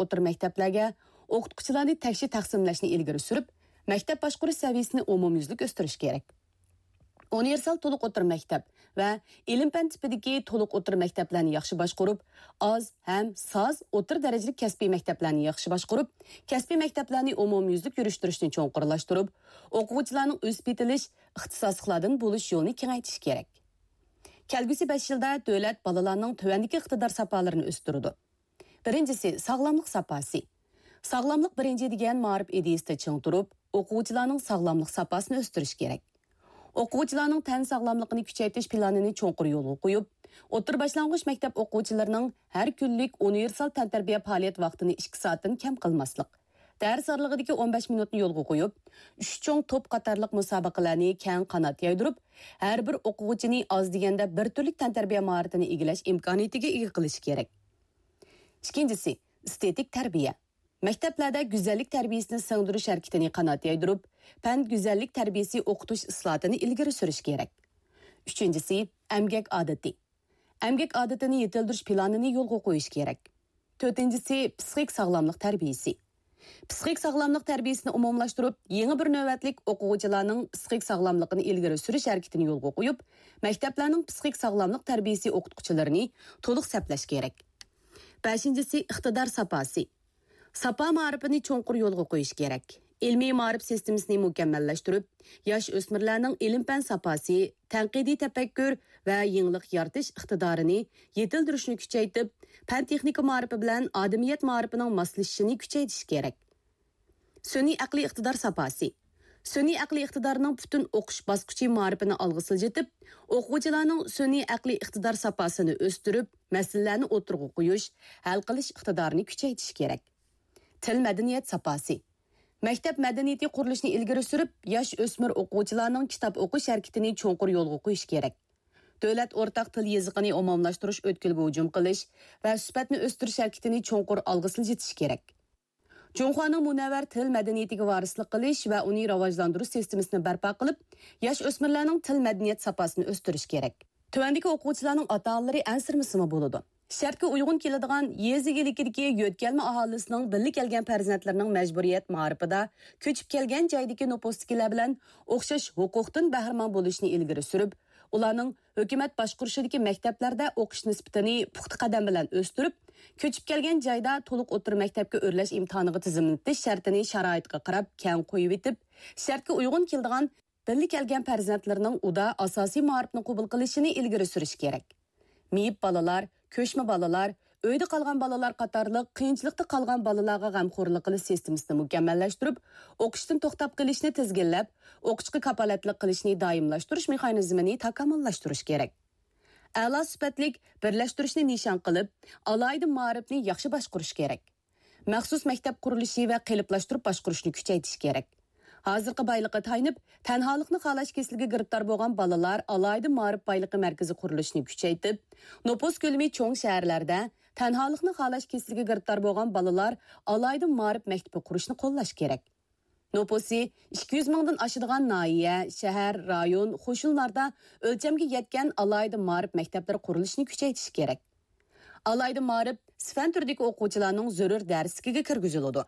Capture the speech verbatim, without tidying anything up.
ئوتتۇرا مەكتەپلەرگە ئوقۇتقۇچىلارنى تەكشى تەقسىملەشنى ئىلگىرى سۈرۈپ، مەكتەپ باشقۇرۇش سەۋىيەسىنى ئومۇميۈزلۈك ئۆستۈرۈش كېرەك. ئۇنىۋېرسال تولۇق ئوتتۇرا مەكتەپ ۋە ئىلىم-پەن تىپىدىكى تولۇق ئوتتۇرا مەكتەپلەرنى ياخشى باشقۇرۇپ، ئاز ھەم ساز ئوتتۇرا دەرىجىلىك كەسپىي مەكتەپلەرنى ياخشى باشقۇرۇپ، كەسپىي مەكتەپلەرنى ئومۇميۈزلۈك يۈرۈشتۈرۈشنى چوڭقۇرلاشتۇرۇپ، ئوقۇغۇچىلارنىڭ ئۆسۈپ يېتىلىش، ئىختىساسلىقلاردىن بولۇش يولىنى كېڭەيتىش كېرەك. كەلگۈسى بەش يىلدا دۆلەت بالىلارنىڭ تۆۋەندىكى ئىقتىدار ساپالىرىنى ئۆستۈرىدۇ. بىرىنچىسى، ساغلاملىق ساپاسى. ساغلاملىق بىرىنچى دېگەن مائارىپ ئىدىيىسىدە چىڭ تۇرۇپ، ئوقۇغۇچىلارنىڭ ساغلاملىق ساپاسىنى ئۆستۈرۈش كېرەك. ئوقۇغۇچىلارنىڭ تەن ساغلاملىقىنى كۈچەيتىش پىلانىنى چوڭقۇر يولغا قويۇپ، ئوتتۇرا باشلانغۇچ مەكتەپ ئوقۇغۇچىلىرىنىڭ ھەر كۈنلۈك ئۇنىۋېرسال تەنتەربىيە پائالىيەت ۋاقتىنى ئىككى سائەتتىن كەم قىلماسلىق، دەرس ئارىلىقىدىكى ئون بەش مىنۇتنى يولغا قويۇپ، ئۈچ چوڭ توپ قاتارلىق مۇسابىقىلەرنى كەڭ قانات يايدۇرۇپ، ھەر بىر ئوقۇغۇچىنى ئاز دېگەندە بىر تۈرلۈك تەنتەربىيە ماھارىتىنى ئىگىلەش ئىمكانىيىتىگە ئىگە قىلىشى كېرەك. ئىككىنچىسى، ئېستېتىك تەربىيە. مەكتەپلەردە گۈزەللىك تەربىيەسىنى سىڭدۈرۈش ھەرىكىتىنى قانات يايدۇرۇپ، پەن گۈزەللىك تەربىيەسى ئوقۇتۇش ئىسلاھاتىنى ئىلگىرى سۈرۈش كېرەك. ئۈچىنچىسى، ئەمگەك ئادىتى. ئەمگەك ئادىتىنى يېتىلدۈرۈش پىلانىنى يولغا قويۇش كېرەك. تۆتىنچىسى، پىسخىك ساغلاملىق تەربىيەسى. پىسخىك ساغلاملىق تەربىيەسىنى ئومۇملاشتۇرۇپ، يېڭى بىر نۆۋەتلىك ئوقۇغۇچىلارنىڭ پىسخىك ساغلاملىقىنى ئىلگىرى سۈرۈش ھەرىكىتىنى يولغا قويۇپ، مەكتەپلەرنىڭ پىسخىك ساغلاملىق تەربىيەسى ئوقۇتقۇچىلىرىنى تولۇق سەپلەش كېرەك. بەشىنچىسى، ئىقتىدار ساپاسى. ساپا مائارىپىنى چوڭقۇر يولغا قويۇش كېرەك. ئىلمىي مائارىپ سىستېمىسىنى مۇكەممەللەشتۈرۈپ، ياش ئۆسمۈرلەرنىڭ ئىلىم-پەن ساپاسى، تەنقىدىي تەپەككۇر ۋە يېڭىلىق يارىتىش ئىقتىدارىنى يېتىلدۈرۈشنى كۈچەيتىپ، پەن-تېخنىكا مائارىپى بىلەن ئادەمىيەت مائارىپىنىڭ ماسلىشىشىنى كۈچەيتىش كېرەك. سۈنئىي ئەقلىي ئىقتىدار ساپاسى. سۈنئىي ئەقلىي ئىقتىدارنىڭ پۈتۈن ئوقۇش باسقۇچى مائارىپىنى ئالغا سىلجىتىپ، ئوقۇغۇچىلارنىڭ سۈنئىي ئەقلىي ئىقتىدار ساپاسىنى ئۆستۈرۈپ، مەسىلىلەرنى ئوتتۇرىغا قويۇش، ھەل قىلىش ئىقتىدارىنى كۈچەيتىش كېرەك. تىل مەدەنىيەت ساپاسى. مەكتەپ مەدەنىيىتى قۇرۇلۇشىنى ئىلگىرى سۈرۈپ، ياش ئۆسمۈر ئوقۇغۇچىلارنىڭ كىتاب ئوقۇش ھەرىكىتىنى چوڭقۇر يولغا قويۇش كېرەك. دۆلەت ئورتاق تىل يېزىقىنى ئومۇملاشتۇرۇش ئۆتكىلىگە ھۇجۇم قىلىش ۋە سۈپەتنى ئۆستۈرۈش ھەرىكىتىنى چوڭقۇر ئالغا سىلجىتىش كېرەك. جۇڭخۇانىڭ مۇنەۋۋەر تىل مەدەنىيىتىگە ۋارىسلىق قىلىش ۋە ئۇنى راۋاجلاندۇرۇش سىستېمىسىنى بەرپا قىلىپ، ياش ئۆسمۈرلەرنىڭ تىل مەدەنىيەت ساپاسىنى ئۆستۈرۈش كېرەك. تۆۋەندىكى ئوقۇغۇچىلارنىڭ ئاتا-ئانىلىرى ئەنسىرىمىسىمۇ بولىدۇ. شەرتكە ئۇيغۇن كېلىدىغان يېزا ئىگىلىكىدىكى يۆتكەلمە ئاھالىسىنىڭ بىللە كەلگەن پەرزەنتلىرىنىڭ مەجبۇرىيەت مائارىپىدا كۆچۈپ كەلگەن جايدىكى نوپۇستىكىلەر بىلەن ئوخشاش ھوقۇقتىن بەھرىمەن بولۇشىنى ئىلگىرى سۈرۈپ، ئۇلارنىڭ ھۆكۈمەت باشقۇرۇشىدىكى مەكتەپلەردە ئوقۇش نىسبىتىنى پۇختا قەدەم بىلەن ئۆستۈرۈپ، كۆچۈپ كەلگەن جايدا تولۇق ئوتتۇرا مەكتەپكە ئۆرلەش ئىمتىھانىغا تىزىملىتىش شەرتىنى شارائىتقا قاراپ كەڭ قويۇۋېتىپ، شەرتكە ئۇيغۇن كېلىدىغان بىللە كەلگەن پەرزەنتلىرىنىڭ ئۇدا ئاساسىي مائارىپنى قوبۇل قىلىشىنى ئىلگىرى سۈرۈش كېرەك. مېيىپ بالىلار، كۆچمە بالىلار، ئۆيدە قالغان بالىلار قاتارلىق قىيىنچىلىقتا قالغان بالىلارغا غەمخورلۇق قىلىش سىستېمىسىنى مۇكەممەللەشتۈرۈپ، ئوقۇشتىن توختاپ قېلىشنى تىزگىنلەپ، ئوقۇشقا كاپالەتلىك قىلىشنى دائىملاشتۇرۇش مېخانىزمىنى تاكامۇللاشتۇرۇش كېرەك. ئەلا سۈپەتلىك بىرلەشتۈرۈشنى نىشان قىلىپ، ئالاھىدە مائارىپنى ياخشى باشقۇرۇش كېرەك. مەخسۇس مەكتەپ قۇرۇلۇشى ۋە قېلىپلاشتۇرۇپ باشقۇرۇشنى كۈچەيتىش كېرەك. ھازىرقى بايلىققا تايىنىپ، تەنھالىقنى خالاش كېسىلىگە گىرىپتار بولغان بالىلار ئالاھىدە مائارىپ بايلىقى مەركىزى قۇرۇلۇشىنى كۈچەيتىپ، نوپۇس كۆلىمى چوڭ شەھەرلەردە تەنھالىقنى خالاش كېسىلىگە گىرىپتار بولغان بالىلار ئالاھىدە مائارىپ مەكتىپى قۇرۇشنى قوللاش كېرەك. نوپۇسى ئىككى يۈز مىڭدىن ئاشىدىغان ناھىيە، شەھەر، رايون، قوشۇنلاردا ئۆلچەمگە يەتكەن ئالاھىدە مائارىپ مەكتەپلىرى قۇرۇلۇشىنى كۈچەيتىش كېرەك. ئالاھىدە مائارىپ سىفەن تۈرىدىكى ئوقۇغۇچىلارنىڭ زۆرۈر دەرسلىكىگە كىرگۈزۈلىدۇ.